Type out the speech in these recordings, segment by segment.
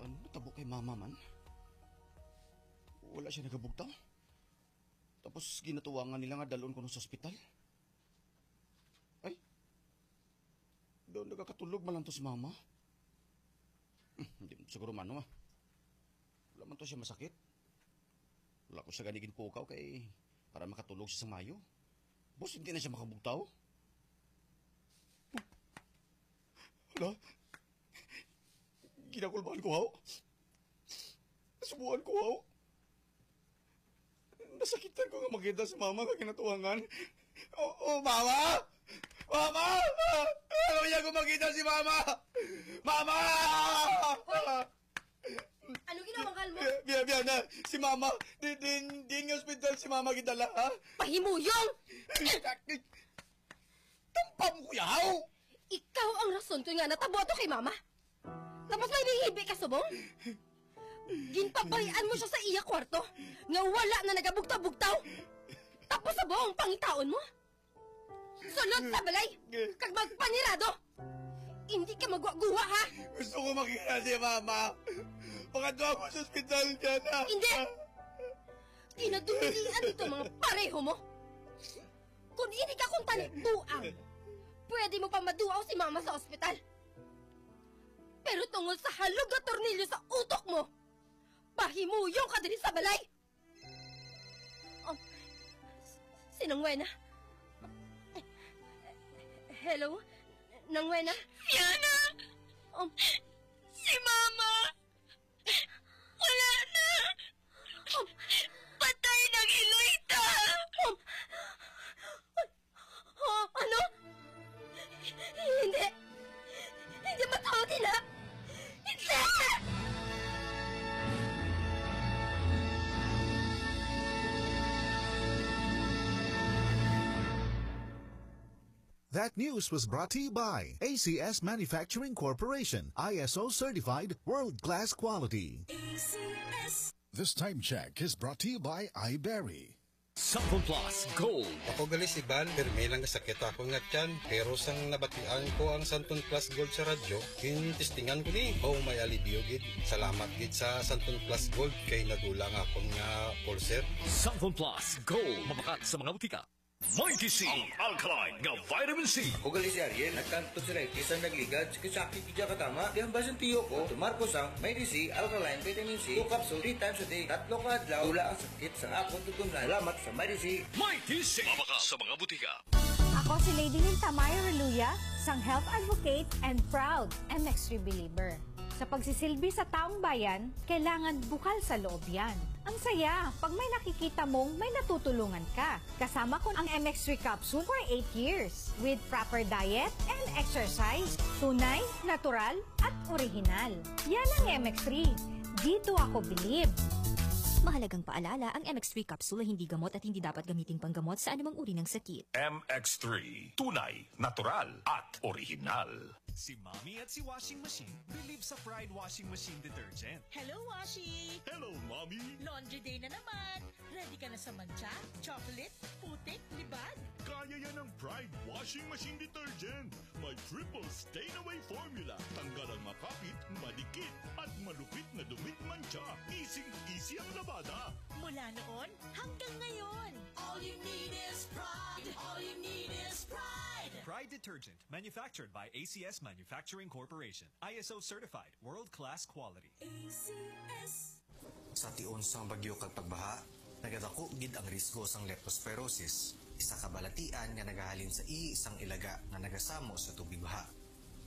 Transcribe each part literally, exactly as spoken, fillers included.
Natabo kay mama man. Wala siya nagabugtaw. Tapos ginatuwangan nila nga dalon kuno sa ospital. Ay, daw nagakatulog man lang to si mama. Hmm, hindi mo siguro mano ah. Wala man to siya masakit. Wala ko siya gani ginpukaw kay para makatulog siya sa mayo. Bus, hindi na siya makabugtaw. Hala, ginakulbaan ko, haw. Nasubuan ko, haw. Nasakitan ko nga makita si mama nga ginatuwangan. Oh, oh, mama! Mama! Ano niya ko makita si mama? Mama! Ano ginawa mo? Biya, biya, biya na. Si mama. Di, di, di nga ospital si mama gidala, ha? Pahimuyong! Tampam ko yaw! Ikaw ang rason ko nga natabo ato kay mama. Tapos may lihibi ka subong? Ginpabalian mo siya sa iya kwarto nga wala na nagabugtaw-bugtaw. Tapos subong pangitaon mo? Sulod sa balay kag magpanirado. Hindi ka magwa-guwa, ha? Gusto ko makita si mama. Pakadto ako sa ospital niya na. Hindi! Kinadumilian dito mga pareho mo. Kung hindi ka kuntani buang, pwede mo pa maduaw si mama sa ospital. Pero tungod sa halog nga tornilyo sa utok mo, pahimuyong ka diri sa balay. Um, si Nang Wena? Hello? Nang Wena? Fiona! Um, si Mama! Wala na! Um, patay na ang Eloita! Um, Oh, ano? Hindi! Hindi matuod, ina! Hindi! That news was brought to you by A C S Manufacturing Corporation, I S O certified, world-class quality. A C S. This time check is brought to you by iBerry. Santon Plus Gold. Ako gali si Van, pirmi lang nga sakit ako nga tiyan, pero sang nabatian ko ang Santon Plus Gold sa radyo, ginistingan ko ni, oh, may alibyo gid. Salamat gid sa Santon Plus Gold kay nagulang akon nga ulcer. Santon Plus Gold, mabakat sa mga butika. Mighty C, ang alkaline nga vitamin C. Ako gali si Ariel, nagkanto si Ricky sa nagligad, sakit-sakit gid siya katama. Di ang basin tiyo ko, tumar ko sang Mighty C, alkaline vitamin C, two capsule, three times a day, tatlo ka adlaw, wala ang sakit sa akon tutunlan. Salamat sa Mighty C. Mighty C, mabaka sa mga butika. Ako si Lady Lintamay Reluya, sang health advocate and proud M X three believer. Sa pagsisilbi sa taong bayan, kailangan bukal sa loob yan. Ang saya, pag may nakikita mong may natutulungan ka. Kasama ko ang M X three capsule for eight years with proper diet and exercise. Tunay, natural, at orihinal. Yan ang M X three. Dito ako bilib. Mahalagang paalala, ang M X three capsule ay hindi gamot at hindi dapat gamiting panggamot sa anumang uri ng sakit. M X three, tunay, natural, at orihinal. Si Mommy at si Washing Machine believe sa Pride Washing Machine Detergent. Hello, Washi! Hello, Mommy! Laundry day na naman! Ready ka na sa mantsa, chocolate, putik, libag? Kaya yan ng Pride Washing Machine Detergent. May triple stain away formula. Tanggal ang makapit, madikit, at malupit na dumit mantsa. Easy-easy ang labada. Mula noon hanggang ngayon. All you need is Pride. All you need is Pride. Pride Detergent. Manufactured by A C S Manufacturing Corporation. I S O certified. World-class quality. A C S. Sa tion sang bagyo kag pagbaha, nagadako gid ang risgo sang leptospirosis, isa ka balatian nga nagahalin sa ihi sang ilaga nga nagasamo sa tubig baha.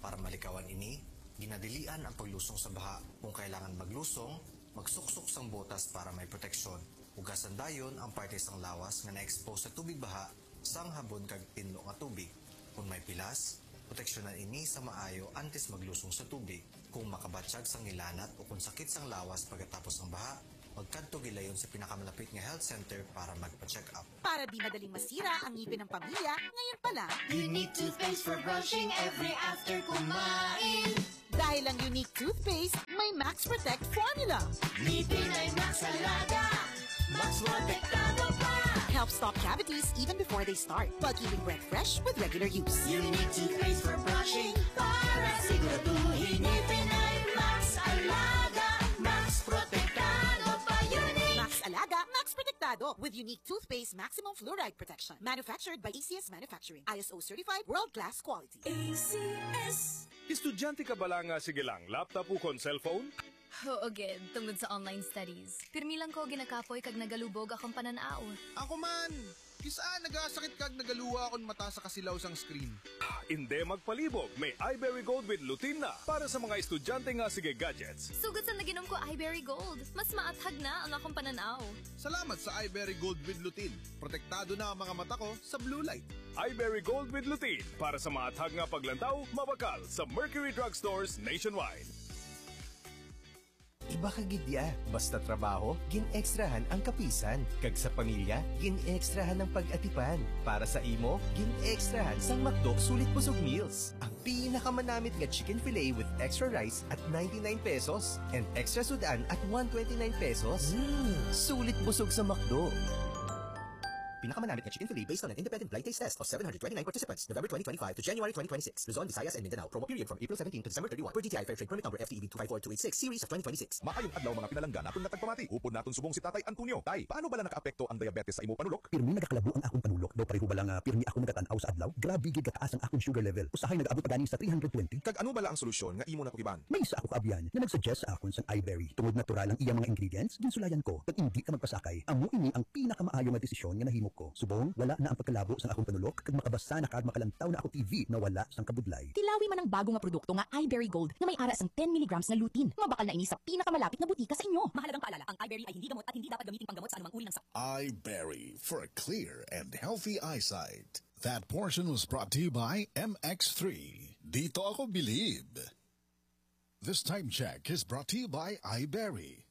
Para malikawan ini, ginadilian ang paglusong sa baha. Kung kailangan maglusong, magsuksok sang botas para may proteksyon. Hugasan dayon ang parte sang lawas nga na-expose sa tubig baha sang habon kag tinlo nga tubig. Kon may pilas, proteksyonan ini sa maayo antes maglusong sa tubig. Kung makabatyag sang ngilanat o kon sakit sang lawas pagkatapos sang baha, magkadto gilayon sa pinakamalapit nga health center para magpa-check-up. Para di madaling masira ang ngipin ng pamilya, ngayon pa lang. Unique toothpaste for brushing every after kumain. Dahil ang Unique Toothpaste may Max Protect Formula. Ngipin ay Max Alaga, Max Protektado pa. Helps stop cavities even before they start, while keeping breath fresh with regular use. Unique Toothpaste for brushing, para siguraduhin ngipin ay Max Alaga. McDo with unique toothpaste maximum fluoride protection. Manufactured by A C S Manufacturing. I S O certified, world-class quality. A C S. Estudyante ka bala nga sige lang laptop ukon cellphone? Oo gid, tungod sa online studies. Pirmi lang ko ginakapoy kag nagalubog akong panan-aw. Ako man! Kis-a nagasakit kag nagaluwa akon mata sa kasilaw sang screen. Indi magpalibog, may iBerry Gold with lutein na para sa mga estudyante nga sige gadgets. Sugod sa naginom ko iBerry Gold, mas maathag na ang akong panan-aw. Salamat sa iBerry Gold with Lutein. Protektado na ang mga mata ko sa blue light. iBerry Gold with lutein para sa maathag nga paglantaw, mabakal sa Mercury Drug Stores nationwide. Iba ka gid ya. Basta trabaho, gin-extrahan ang kapisan. Kag sa pamilya, gin-extrahan ang pag-atipan. Para sa imo, gin-extrahan sang McDo Sulit Busog Meals. Ang pinakamanamit nga chicken fillet with extra rice at ninety-nine pesos and extra sud-an at one twenty-nine pesos. Mm, sulit busog sa McDo. Pinakamanamit nga chicken fillet based on an independent blind taste test of seven hundred twenty-nine participants, November twenty twenty-five to January twenty twenty-six. Luzon, Visayas, and Mindanao. Promo period from April seventeen to December thirty-one, per D T I Fair Trade Permit Number F T E B two five four two eight six series of twenty twenty-six. Maayong adlaw, mga pinalangga naton nga tagpamati. Upod naton subong si Tatay Antonio. Tay, paano bala nakaapekto ang diabetes sa imo panulok? Pirmi nagakalabu ang akong panulok daw pareho bala nga pirmi ako nagatan-aw sa adlaw. Grabe gid kataas ang akong sugar level. Usahay nagaabot pa gani sa three hundred twenty. Kag ano bala ang solusyon nga imo natukiban? May isa ako kaabyan nga nag-suggest sa akon sang iBerry. Tungod natural ang iya mga ingredients, ginsulayan ko kag indi ka magpasakay. Amo ini ang pinakamaayo nga desisyon nga nahimo ko. Subong, wala na ang pagkalabo sang akong panulok kag makabasa na kag makalantaw na ako T V na wala sang kabudlay. Tilawi man ang bago nga produkto nga iBerry Gold nga may ara sang ten milligrams nga lutein. Mabakal na ini sa pinakamalapit nga butika sa inyo. Mahalagang paalala, ang iBerry ay hindi gamot at hindi dapat gamiting panggamot sa anumang uri ng sakit. iBerry for a clear and healthy eyesight. That portion was brought to you by M X three. Dito ako bilib. This time check is brought to you by iBerry.